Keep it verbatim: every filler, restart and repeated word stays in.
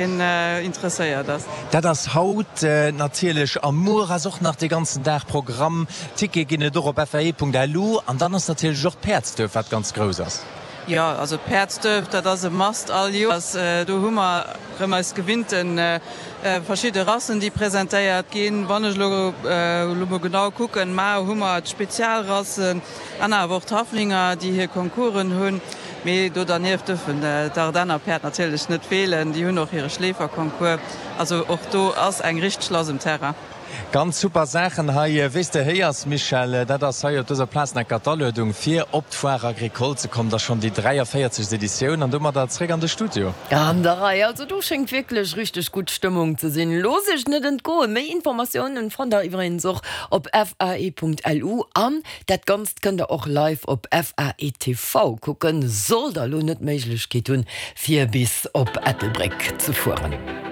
Interesséiert ass. Dat ass haut natierlech a muer ass och nach de ganzen Dag Programm. Tickete ginn et och op FAE.lu an dann ass natierlech och d'Päerdsduerf, wat ganz grouss ass. Jo, also d'Päerdsduerf, dat ass e Must all Joers. Do hu mer erëm eis gewinnte verschidde Rassen, déi presentéiert ginn. Wann ech elo elo mol genau kucken, mar hu mer d'Spezialrassen an awer och d'Haflinger, déi hir Concoursen hunn. Mee do dernieft dürfen d'Ardenner Päerd natierlech net feelen, déi hunn och hire Schleeferconcours. Also och do ass eng richteg lass um Terrain. Ganz super Saachen hei. Wéi s de héiers, Michèle, dat ass hei op dëser Plaz enker d'Aluedung fir op d'Foire Agricole ze kommen. Dat ass schonn déi dräiavéierzegst Editioun an domadder zréck an de Studio. An der Rei, also do schéngt wierklech richteg gutt Stëmmung ze sinn. Looss iech net entgoen. Méi Informatiounen fannt der iwwregens och op fae.lu an dat Ganzt kënnt der och live op F A E T V kucken, sollt der elo net d'Méiglechkeet hunn fir bis op Ettelbréck ze fueren.